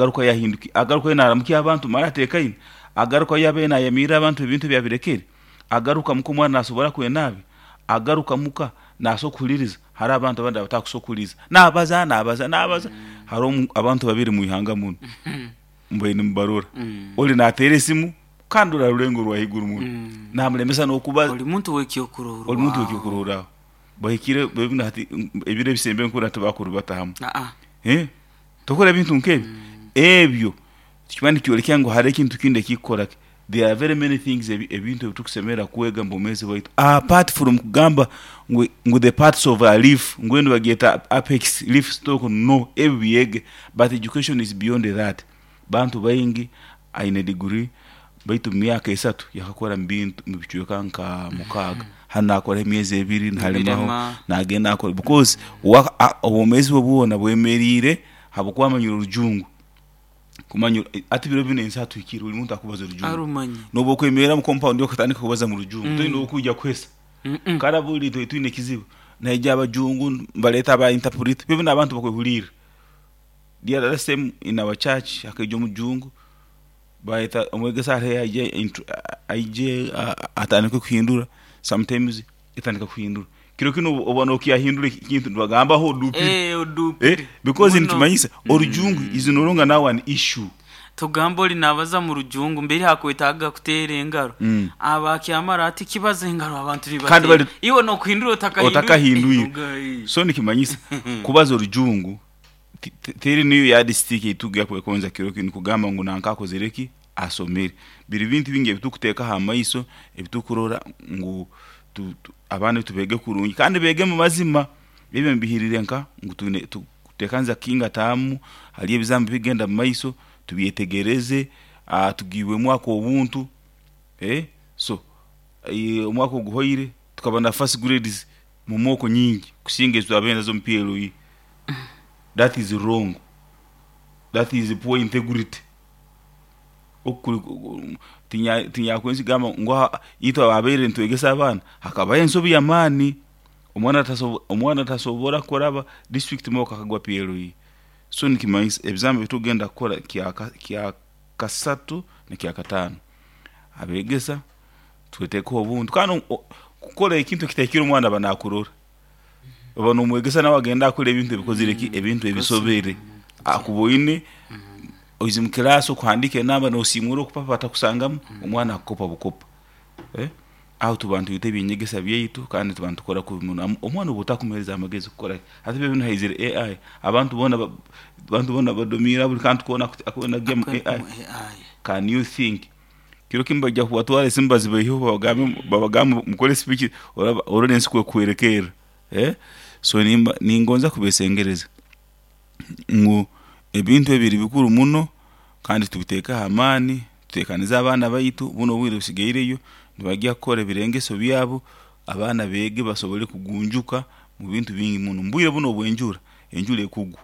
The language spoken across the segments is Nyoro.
Agaruka yahinduka, agaruka naramukya abantu mara atekaine, agaruka yabe nayamirira abantu ebintu byabirekere, agaruka muka omwana nasobora kwenabi, agaruka muka nasobola kuhuliriza. Hariho abantu abandi abatakusobola kuhuliriza, nabaza nabaza nabaza. Hariho abantu babiri mwihanga muno mbaire nimubarora, oli nateera esimu kandi ori aha rurengo rwa haiguru muno, namulemesa n'okubaza. Oli muntu w'ekyokurorwaho. Oli muntu w'ekyokurorwaho. Bahikire binu hati ebiro ebisembe nkurora tibakurubata hamu. Tokora ebintu nk'ebyo. Ebyo nikiba nikyoleka ngu hariho ekintu kindi ekikukora ki. There are very many things ebintu ebitukusemerra kwega omu bwomeezi bwaitu apart from kugamba ngu the parts of a leaf ngu enu bagyeta apex leaf stalk no ebi byege but education is beyond that. Bantu baingi aine degree baitu omu myaka esatu yakakora omu bintu omu bicweka nka mukaaga. Hanu nakoraho emyezi ebiri nalemaho nagenda akora because obwomeezi bwe bwona bwemeriire habwokuba amanyire orujungu. Kumanya hati biro binu ensi hatuhikire buli muntu akubaza orujungu. Arumanye. Nobu okwemerra omu compound okatandika kubaza mu rujungu toine owokwija kuhesa. Kara buli itwe twine ekizibu naija abajungu nibaleta aba interpreter biro binu abantu bakwehulirra. The other same in our church hakaija omujungu bayeta omwegesa hariho aije aije atandike kuhindura sometimes etandika kuhindura. Kiro kinu oba nokyahindura ekintu nibagamba ho odupire. Odupire. Because nikimanyisa orujungu is no longer now an issue. Tugamba oli nabaza mu rujungu mbere hakwetaaga kuteera engaro. Aba akyamara ati kibaza engaro abantu nibateera. Iwe nokuhindura otakahinduire. So nikimanyisa kubaza orujungu teri niyo yardstick ei tukwegonza kiro kinu kugamba ngu nanka akozire ki asomere. Biri bintu bingi ebitukuteekaho amaiso ebitukurora ngu abaana baitu beege kurungi kandi beege omu mazima. Ebi mbihiriire nka ngu twine tukuteekaniza kinga taamu, hariyo ebizamu ebikugenda omu maiso tubyetegereze, tugiibwemu ak'obuntu so omwaka oguhoire tukaba na first grades mu mooko nyingi kusinga ezi twabaire nazo omu PLE. That is wrong, that is poor integrity. Tinyakwenze kugamba ngu itwe ababaire nitwegesa abaana hakabaho ensobi y'amaani, omwana tasobora kuraba district mooko akagwa PLE. So nikimanyisa ebizamu ebitukugenda kukora kya kasatu n'ekyakataano, abeegesa twetekeho obuntu kandi kukora ekintu ekitahikire omwana aba nakurora. Oba nomwegesa nawe agenda akora ebintu ebikozire ki? Ebintu ebisobere. Akuba oine oize omu kiraasi okuhandiika enamba nosiimuura okupapa batakusangamu, omwana akukopa bukopa. Aho tuba nitwita eby'enyegesa byaitu kandi tuba nitukora kubi muno. Omwana obu otakumuheereza amagezi kukora ki? Hati biro binu haizire AI, abantu boona badomiire buri kantu koona akugya omu AI. Can you think? Kiro kimu baija kubatwara esimu bazibaiheho babagambe mukore speech orole ensi kwekuhwerekerra. So ningonza kubesengereza ngu ebintu ebi biri bikuru muno kandi tubitekeho amaani, tutekanize abaana baitu, bunu obwire busigaireyo nibagya kukora ebirengeso byabo, abaana beege basobole kugunjuka omu bintu bingi muno. Omu bwire bunu obw'enjura, enjura ekugwa,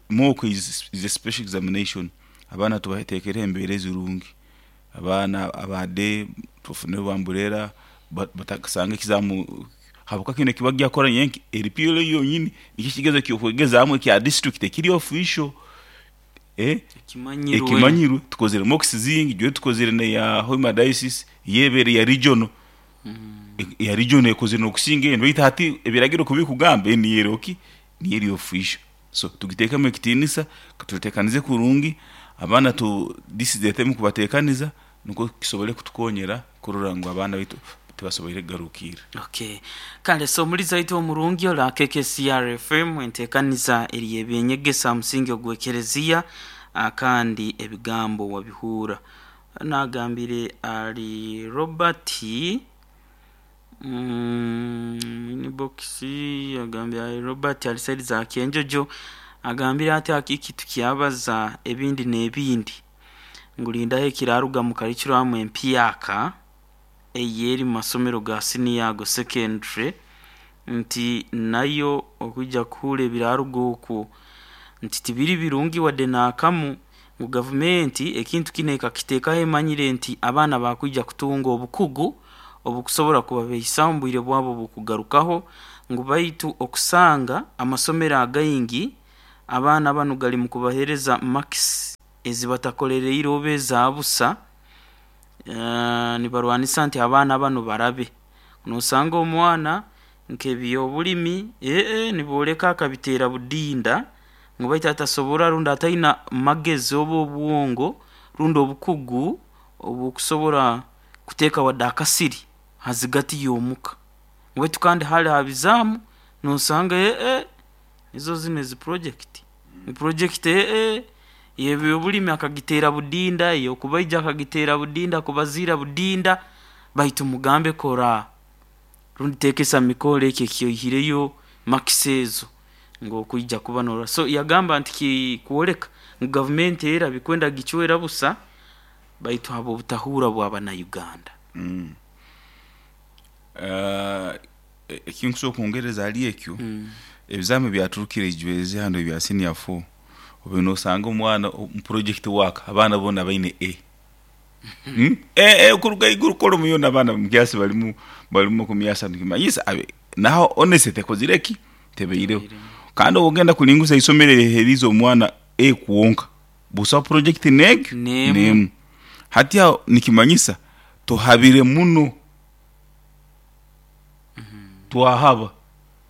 mock is a special examination, abaana tubatekereho embeera ezirungi, abaana aba day tubafunireho ba amburera batakasanga ekizamu habwokuba kinu ekibagya kukora nyenki eri PLE yonyini nikyo ekigezo eky'okwegezaamu ekya district ekiri official ekimanyirwe. Tukozere mocks zingi, jwe tukozere n'eya Hoima diocese yo ebaire ya regional, eya regional ekozire n'okusinga enu baitu hati ebiragiro kubikugamba enu niyo eri ki? Niyo eri official. So tugiteekemu ekitiinisa, tuteekanize kurungi abaana this is the time kubateekaniza nukwo kisobole kutukonyera kurora ngu abaana baitu tibasoboire kugaruukirra. Okay. Kale so omulizi waitu omurungi ori aha KKCR FM enteekaniza eri y'ebyenyegesa aha musingi ogw'ekereziya kandi ebigambo wabihuura. Naagambire ari Robert Inbox agambire ari Robert ari saidi za Kyenjojo agambire ati akiki tukyabaza ebindi n'ebindi ngu rindaho ekiraruga mu curriculum empyaka eyeri mu masomero ga siniya ago secondary nti nayo okwija kuhuura ebiraruga okwo nti tibiri birungi wadde n'akamu ngu gavumenti ekintu kinu ekakiteekaho emanyire nti abaana bakwija kutunga obukugu obukusobora kubabeisaho omu bwire bwabo obukugarukaho ngu baitu okusanga amasomero againgi abaana banu gari mu kubaheereza marks. Ezibatakolereire oba eza busa, nibarwanisa nti abaana banu barabe. Nosanga omwana nk'ebyobulimi nibooleka akabiteera budinda ngu baitu atasobora rundi ataina magezi oba obwongo rundi obukugu obukusobora kuteeka wadde akasiri ha zigati y'omuka. Baitu kandi hali ha bizaamu nosanga nizo zinu ezi project, project ey'ebyobulimi akagiteera budinda, ey'okubaija akagiteera budinda, kubaziira budinda, baitu mugambe kora rundi teekesa mikoro eki eki oihireyo marks ezo ngu okwija kuba norora. So yagamba nti kikwoleka ngu gavumenti era bikwenda gicwera busa baitu habw'obutahuura bw'abannayuganda. Ekinkusobora kwongereza hali ekyo, ebizaamu ebyaturukire ijwezi hanu ebya senior four, obaire nosanga omwana omu project work abaana boona baine A. A kuruga haiguru column yoona abaana omu class barimu barimu 30 nikimanyisa naho honesty tekozire ki? Tebaireho. Kandi obu ogenda kuringuza eisomero eriheeriize omwana A kwonka, busaho project n'egi? N'emu. N'emu. Hati aho nikimanyisa tuhabire muno. Twahaba.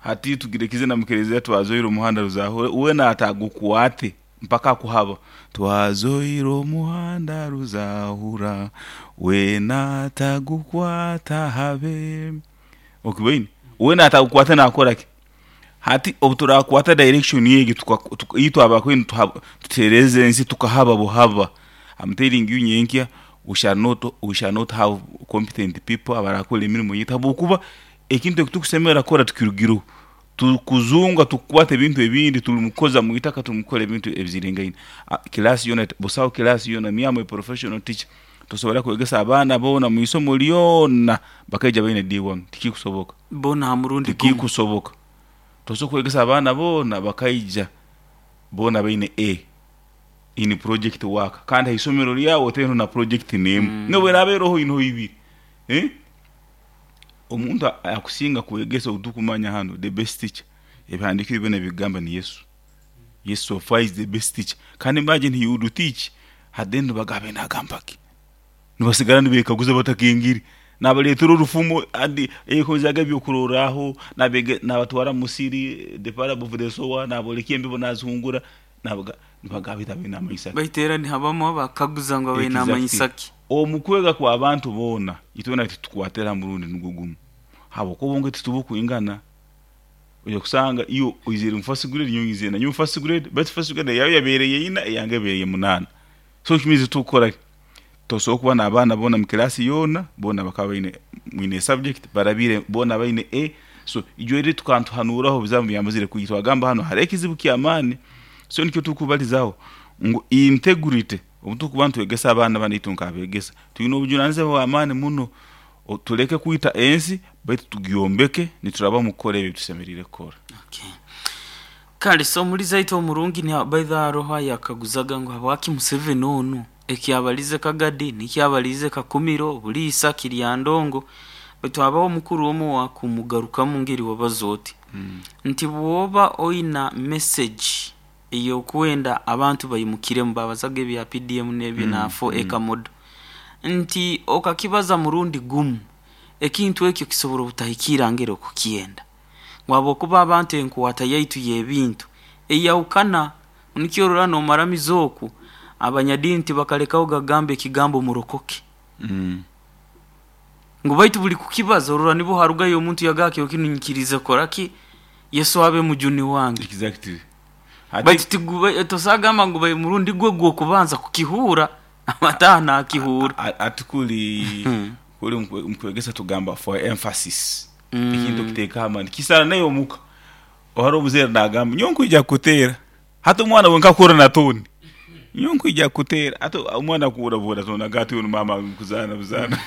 Hati tugirekize na mukereziya twazoire omuhanda ruzahure, weena atagukwate mpaka akuhaba. Twazoire omuhanda ruzahura, weena atagukwata habe. Okiboine? Weena atagukwata naakora ki? Hati obu turakwata direction egi itwe abakwenda tuteereze ensi tukahaba buhaba. I'm telling you nyenkya we shall not have competent people abarakora emirimo yaitu habwokuba ekintu eki tukusemerra kukora tukirugireho. Tukuzunga tukukwata ebintu ebindi turi mukukoza mu itaka turi mukukora ebintu ebiziringaine. Class yoona busaho class yoona me am a professional teacher tosobora kwegesa abaana boona mu isomo lyona bakaija baine D1 tikikusoboka. Boona ha murundi gumu. Tikikusoboka. Tosobora kwegesa abaana boona bakaija boona baine A in project work kandi ha isomero ryawe otaineho na project n'emu n'obu eraaba eroho oineho ibiri. Omuntu akusinga kwegesa ou tukumanya hanu the best teacher ebihandiiko ebi byona bikugamba ni Yesu. Yesu so far is the best teacher kandi imagine he would teach at the end nibagamba nagamba ki? Nibasigara nibekaguza batakengire. Nabareetera orufumo and yakozaaga ebyokurorraho, nabatwara mu musiri, the parable of the sower, nabooleka embibo nazihungura, nibagamba baitu abaire namanyisa ki? Baitu era nihabamu abakaguza ngu abaire namanyisa ki? Omu kwega kw'abantu boona, itwena titukwatira ha murundi nugwo gumu habwokuba obwongo titubukwingana. Oija kusanga iwe oizire omu first grade nyowe nyizire nanye omu first grade baitu first grade eyawe yabaire yeina eyange ebaire yemunaana. So ekimanyisa tukukora ki? Tosobora kuba n'abaana boona mu class yoona, boona bakaba baine mwine subject barabire boona baine A. So ijwe eri tukaba nituhanuuraho ebizamu byamazire kwija twagamba hanu hariho ekizibu ky'amaani. So nikyo turikubalizaho ngu integrity obu turikuba nitwegesa abaana banu itwe nk'abeegesa twine obujunanizibwa bw'amaani muno tuleke kwita ensi baitu tugyombeke nituraba omu kukora ebi ebitusemeriire kukora. Okay. Kale so omulizi aitwe omurungi ni by the haroho ayakaguzaga ngu habwaki Museveni onu ekyabalize Kagadi nikyabalize Kakumiro, Buliisa, Kiryandongo baitu habaho omukuru omu owakumugarukamu ngeri wabaza oti nti bwoba oina message ey'okwenda abantu baimukiremu babazaga ebya PDM n'ebyo na 4 acre model nti okakibaza murundi gumu ekintu ekyo kisobora obutahikiira ngeri okukyenda ngu habwokuba abantu enkwata yaitu y'ebintu eyahukana nikyo orora n'omaramiza oku abanyadiini tibakalekaho gagamba ekigambo murokoke ngu baitu buli kukibaza orora nibwo harugayo omuntu yagamba kiro kinu nyikiriize kukora ki Yesu abe mujuni wange. Exactly. Baitu tosobora kugamba ngu murundi gwe gw'okubanza kukihuura amataha nakihuura. Ati kuli kuli mukwegesa tugamba for emphasis ekintu okiteekaho amaani kisana naye omuka haroho omuzaire nagamba nyowe nkwija kukuteera hati omwana wenka akuhurra na tone nyowe nkwija kukuteera hati omwana akuhurra buhurra tone agamba ati onu maama ali mukuzaana buzaana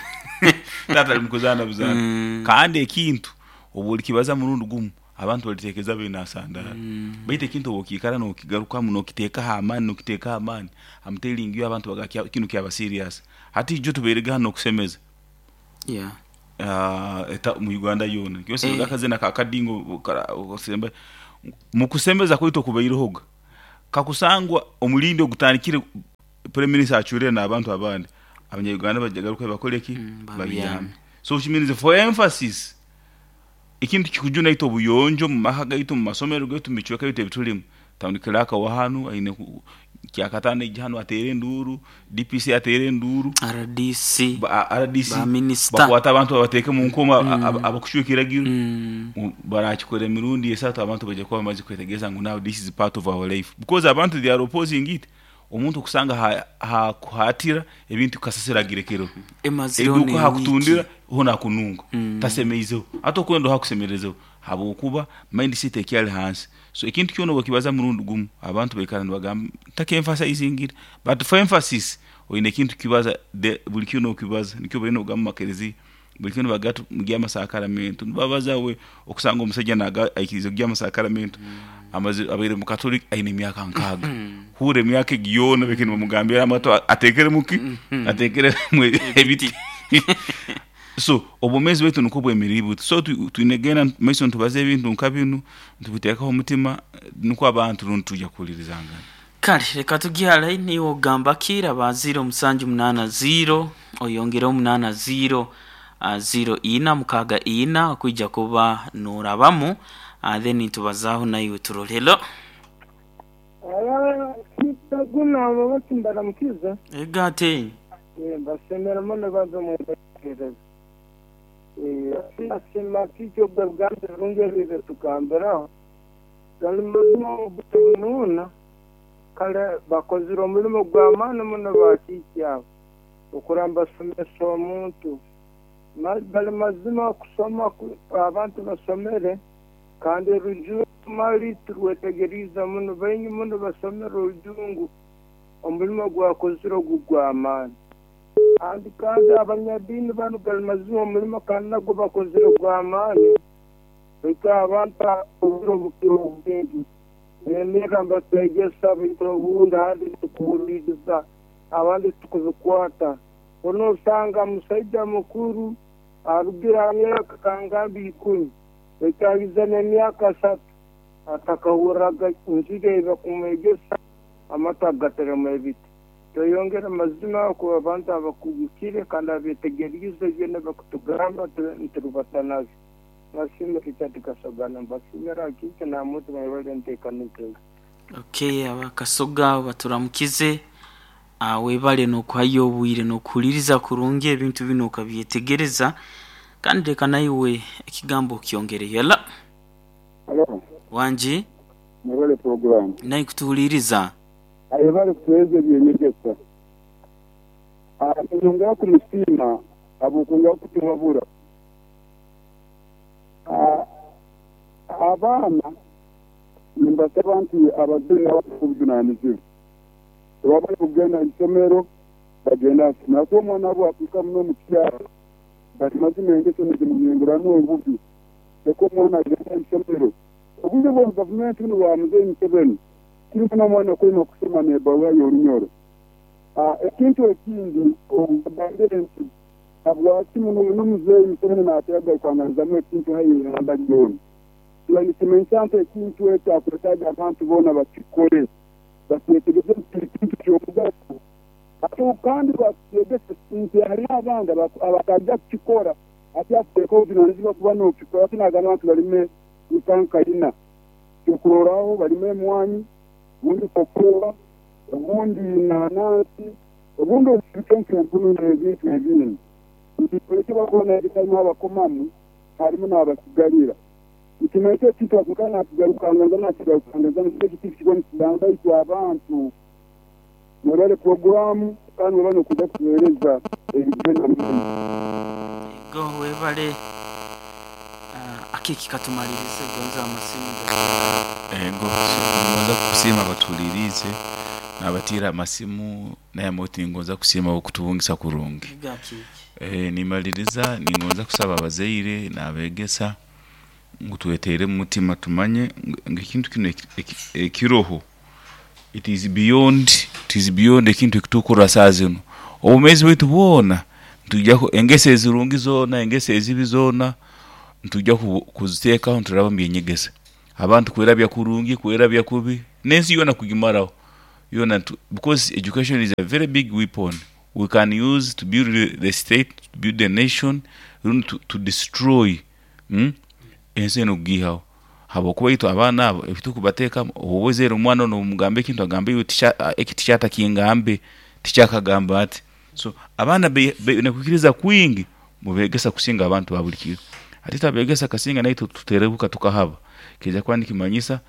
taata ali mukuzaana buzaana kandi ekintu obu orikibaza murundi gumu abantu balitekereza baine asandaara baitu ekintu obu okiikara nokigarukamu nokiteekaho amaani nokiteekaho amaani I'm telling you abantu bagamba kinu kyaba serious. Hati ijo tubairege hanu okusemeza mu Uganda yoona akazina ka kadingo mukusemeza kwaitu okubairehoga kakusangwa omulindi ogutandikire. Prime Minister acurire n'abantu abandi, Abanya-Uganda bajagaruka bakole ki? Babyame. Babyame. So which means for emphasis, ekintu kikujuna itwe obuyonjo mu maka gaitu, mu masomero gaitu, mu bicweka byaitu ebitulimu. Town clerk wa hanu aine kyakataano aije hanu ateere enduuru, DPC ateere enduuru, RDC, RDC, ba minisita. Bakwate abantu babateeke mu nkomo abakucwa ekiragiro. Barakikora emirundi esatu, abantu baija kuba bamaze kwetegereza ngu now this is part of our life, because abantu they are opposing it. Omuntu okusanga hakuhatira ebintu kasasiro agirekereho Emazireho eduuka n'ewiiki. Hakutundira ho nakununga tasemeizeho, ate okwenda hakusemerezeho habwokuba mindset ekyali hansi. So ekintu kyona obukibaza murundi gumu, abantu baikara nibagamba ntakenfasizingire, but for emphasis oine ekintu kibaza buli kiro nokibaza. Nikyo balina okugamba mu makereziya buli kiro nibagamba mugye amasakaramento, nibabaza we okusanga omusaija naga aikirize kugya amasakaramento, amaze abaire mukatoliki aine emyaka 60, huura emyaka egi yoona baitu nibamugambira amatu ateekeremu ki, ateekeremu ebiti. So obwomeezi bwaitu nukwo bwemereriire buti. So twine kugenda mumaiso nitubaza ebintu nka binu, nitubiteekaho omutima, nukwo abantu rundi twija kuhuliirizangana. Kale reka tugye hare. Niiwe ogamba ki? Raba 078 0 oyongereho 80 04 64 okwija kuba norabamu, then nitubazaaho naiwe turole. Hello. Guna babati mbaramukiza. Ega ate. Mbasemera muno banza mwetegereza. Nasima kikyo bw'Uganda birungi ebyo tugambiraho gali mazima obunuuna. Kale bakozire omulimo gw'amaani muno bakiiki abo okuramba basomesa omuntu. Bali mazima kusoma abantu basomere, kandi orujungu mali turwetegeriize muno, baingi muno basomere orujungu. Omulimo gwakozire ogu gw'amaani. Kandi abanyadiini banu gali mazima omulimo kandi nagwo bakozire gw'amaani, baitu abantu obwire obukira obwingi bemerra nibatwegesa, baitu obundi handi tukuhuliiriza, abandi tukubikwata. Onoosanga musaija mukuru arugire ha myaka kangambe 10, baitu ahize n'emyaka 3 atakahurraga njiri ei bakumwegesa, amatu agateremu ebiti. Tweyongere mazima kuba abantu abakugukire kandi abetegeriize byona bakutugamba nturubata nabyo. Nasiima Richard Kasoga, mbasimira kiki namuntu mwebale enteekaniza egi. Okay, abakasoga baturamukize. Webale n'okuhayo obwire n'okuhuliriza kurungi ebintu binu okabyetegereza, kandi reka naiwe ekigambo okyongereyo. Hello. Halo. Wangi. Mwebale puroguramu. Naye kutuhuliriza. Ayebale kutuheereza ebyenyegesa. Ninyongera kumusiima habw'okwongera kutuhabura. Abaana nimbasaba nti abazaire nabo bateeke obujunanizibwa. Bwebaba bari kugenda aha isomero, bagende aha isomero. Ahakuba omwana bwatuuka muno omu kyaro, bati mazima engeso nizimuhingurana obubi. Leka omwana agende aha isomero. Obwire bwa gavumenti bunu bwa Muzeeyi Museveni, kiri muno omwana kwema kusoma n'ebaruha y'orunyoro. Ekintu ekindi ogambire nti habwaki muno muno Muzeeyi Museveni naatera kugarukanganizamu ekintu haihi ihanga lyona. Kiba nikimanyisa nti ekintu ekyo akwetaaga abantu boona bakikole, bakyetegereze nti kiri kintu ky'omugaso. Ate kandi lwakukyegesa nti hariho abandi abataija kukikora, ati akuteekaho obujunanizibwa kuba n'okikora. Ati naagamba nti balime nka ina, kyokurorraho balime emwanyi, obundi kokoa, obundi nanansi, obundi obusibike nk'empunu n'ebintu ebindi. Nti ekyo bakuba nayegesa harimu abakomamu, harimu n'abasigalira. Nikimanyisa ekintu akuka nakigarukanganiza nakigarukanganiza eki kiba nikigamba itwe abantu. Mwebale puroguramu kandi mwebale n'okuza kutuheereza ebigenda muno. Ego, webale. Akiki katumalirize gonza amasimu. Ego, ningonza kusiima abatuhuliriize n'abatiire amasimu, naye moti ningonza kusiima okutubungisa kurungi. Ego akiki. Nimaliriza ningonza kusaba abazaire n'abeegesa ngu tweteeremu omutima, tumanye ngu ekintu kinu ekiroho it is beyond ekintu ekitukurora saaha zinu. Obwomeezi bwaitu bwona nitwija engeso ezirungi zoona, engeso ezibi zoona, nitwija kuziteekaho nituraba omu by'enyegesa. Abantu kwerabya kurungi, kwerabya kubi, n'ensi yoona kugimaraho. Yona because education is a very big weapon we can use to build the state, to build the nation, rundi to destroy, Ensi enu kugiihaho, habwokuba itwe abaana abo ebi tukubateekamu, obu ozaire omwana onu nomugamba ekintu agamba iwe eki teacher atakingambe, teacher akagamba ati. So abaana baine kwikiriza kwingi mubeegesa kusinga abantu ba buli kiro. Hati twabeegesa kasinga naitwe tuterebuka tukahaba, kiija kuba nikimanyisa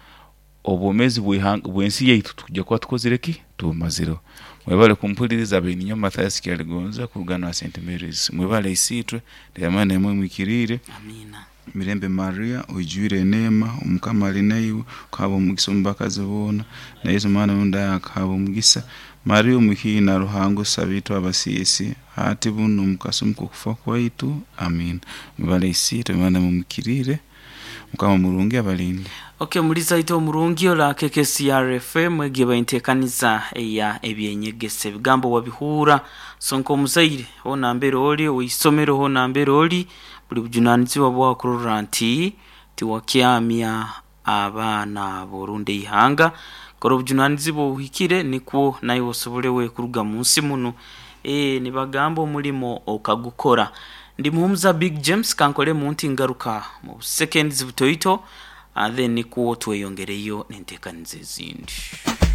obwomeezi bw'ensi yaitu tukwija kuba tukozire ki? Tubumazireho. Mwebale kumpuliriza, abaire ninyowe Mathias Kyaligonza kuruga hanu ha St Mary's. Mwebale Isiitwe, namwe mwikiriire. Amiina. Mirembe Maria, oijwire eneema, Omukama ali naiwe, okahabwa omugisa omu bakazi boona, na Yesu omwana w'omu akahabwa omugisa. Maria omuhiina Ruhanga osaba itwe abasiisi, hati bunu omu kasumi k'okufa kwaitu. Amiina. Mwebale Isiitwe, namwe mwikiriire. Mukama murungi abalinde. Okay, muliza ite omurungi ola KKCR FM egiye baintekaniza eya ebyenyegesa, ebigambo wabihura. So nk'omuzaire hona mbere oli, owisomero hona mbere oli, buli bujunanizibwa bwakurora nti tiwakyamya abaana abo rundi eihanga. Kora obujunanizibwa obuhikire nikwo naiwe osobole kuruga mu nsi muno. Nibagamba omulimo okagukora. Ndi Muhumuza Big James, kankole munti ngaruka mu seconds butoito, then nikwo tweyongereyo n'entekaniza ezindi.